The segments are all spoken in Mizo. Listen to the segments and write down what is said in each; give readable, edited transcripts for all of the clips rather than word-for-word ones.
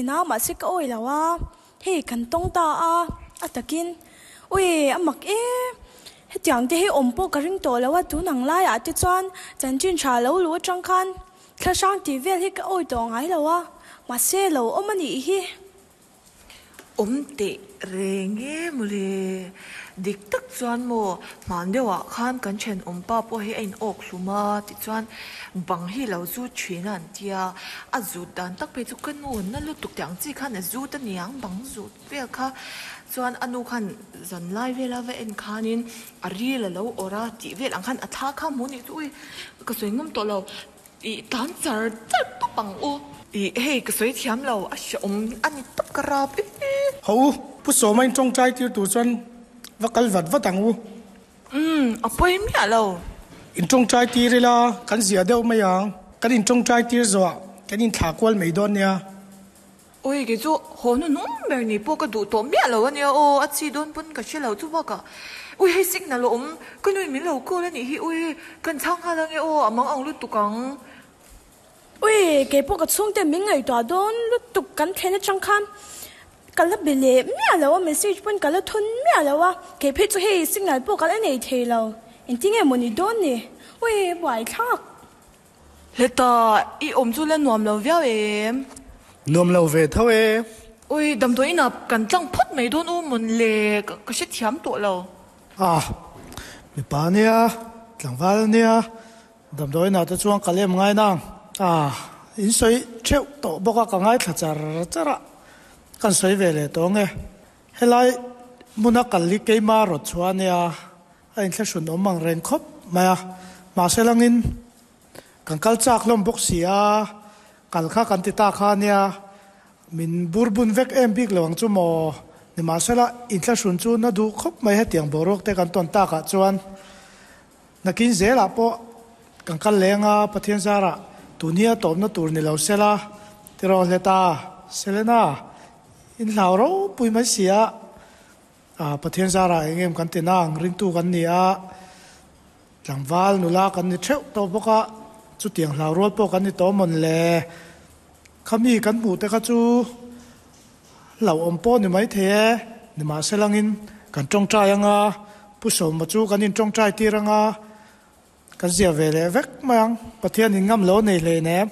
thin a, mahse ka awih lo a, hei kan tawng ta a, a takin ui a mak e, hetiang te hi awm pawh ka ring tawh lo a, tun ang laiah te chuan chanchin tha lo luh atang khan thla hrang tih vel hi ka awih tawh ngai lo a, mahse lo awm a nih hi. Awm teh reng e mawle. Dik tak chuan maw, hman deuhah khan kan thenawm pa pawh hi a in awk hlum a, tichuan bang hi lo zut thin a an tia, a zut dan tak phei chu ka nu na lutuk tih ang chi khan a zut a niang bang zut vel kha, chuan a nu khan zan lai vela va en khanin a ril a lo awrh a tih vel ang khan a thla kha hmu nih chu ui ka sawi ngam tawh lo. I tan char char tawp ang u. I hei ka sawi thiam lo, a hrehawm a ni tawp ka rap e. Ho u, Pu Sawma in tawngtai tir tur chuan va kal vat vat ang u. Umm, a pawi miah lo. In tawngtai tir ila kan ziah deuh mai ang. Kan in tawngtai tir zawh kan in thlah kual mai dawn nia. Ui, kei chu haw hnuhnung ber ni pawh ka duh tawh miah lo a nia aw, a chi dawn pawn ka hre lo chu bakah ui hei signal a awm, ka nuin min lo call a nih hi ui, kan chhang nghal ange aw, a mang ang lutuk ang. Ui, kei pawh ka chhungte min ngaihtuah dawn lutuk kan thlen atang khan ka la be leh miah lo a, message pawn ka la thawn miah lo a, kei phei chu hei signal pawh ka la nei thei lo, engtin nge maw ni dawn ni, ui buaithlak. Heta i awm chu la nuam lo viau em? Nuam lo ve tho e. Ui, damdawi inah kan tlang phawt mai dawn u mawn le, ka hrethiam tawh lo. Ah, mipa nia, tlangval nia, damdawi inah te chuan ka lem ngai nang. Ah, in sawi theuh tawh bawk a, ka ngaithla char char a, kan sawi ve leh tawh ange. Helai hmuna kal hi keima rawt chhuah ania, A inthlahrun awm ang reng khawp mai a, mahse langin kan kal chak hlawm bawk si a, kal kha kan ti ta kha ania, min bur bun vek em bik lo ang chu maw? Nimahsela inthlahrun chu na duh khawp mai hetiang boruak te kan tawn takah chuan nakin zelah pawh kan kal leng a, Pathian zarah tun hi a tawpna tur ni lo sela tiraw hleta Selena inhlau ropui mai si a. Pathian zarah eng em kan ti nang, ringtu kan ni a, tlangval nula kan ni theuh tawh bawk a, chutiang hlau rual pawh kan ni tawh mawn le. Khami kan hmuh te kha chu hlauhawm pawh ni mai thei e, nimahselangin kan tawngtai anga, Pu Sawma chu kan intawngtai tir anga, Kan zia ve leh vek mai ang, Pathian in ngam lo nei hlei nem.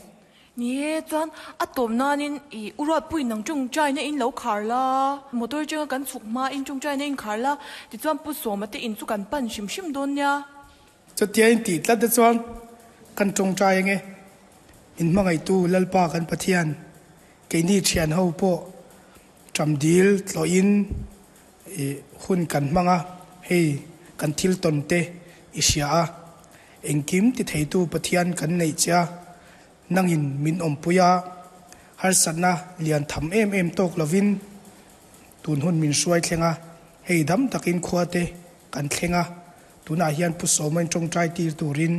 Ni e, chuan a tawp nanin i u Ruatpuiin nang tawngtaina in lo khar la, motor atanga kan chhuk hma in tawngtaina in khar la, tichuan Pu Sawma te in chu kan pan hrim hrim dawn nia. Chutia in tih tlat te chuan kan tawngtai ange, in hmangaihtu Lalpa kan Pathian, keini thian ho pawh Ṭamdil tlawhin i hun kan hmang a, hei kan thil tawn te i hria a, engkim ti theitu Pathian kan neih che a, nangin min awmpui a, harsatna lian tham em em tawk lovin tun hun min hruai thleng a, hei dam takin khua te kan thleng a, tunah hian Pu Sawmain ṭawngṭai tir turin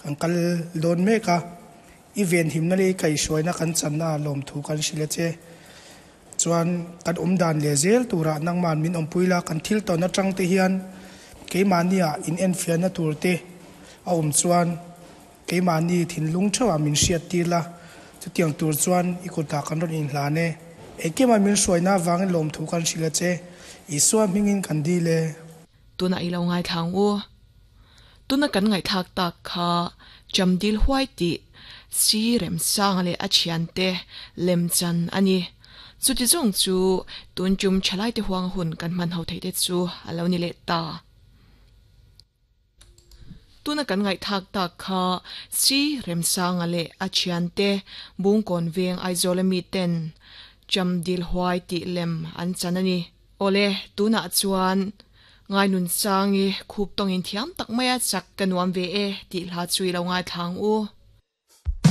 kan kal dawn mek a. I venhimna leh i kaihhruaina kan channa ah lawmthu kan hrilh a che. Chuan kan awm dan leh zel turah nangma'n min awmpui la, kan thil tawn atang te hian keimahni ah in enfiahna tur te a awm chuan keimahni thinlung theuh ah min hriat tir la, chutiang tur chuan i kutah kan rawn inhlan e. Engkima min hruaina avangin lawmthu kan hrilh a che. Isua hmingin kan dil e. Tunah i lo ngaithla ang u. Tuna kan ngaihthlak tak kha Chamdil huai tih Si Remsanga leh a thiante lemchan a ni. Chuti zawng chu tun tum thalaite huang hun kan hman ho theih te chu a lo ni leh ta. Tuna kan ngaihthlak tak kha Si Remsanga leh a thiante Bungkawn veng Aizawl ami ten Chamdil huai tih lem an chan a ni. Awle, tunah chuan Ngainun Sangi khup tawngin thiam tak maia chak ka nuam ve e tih hla chu i lo ngaithla ang u.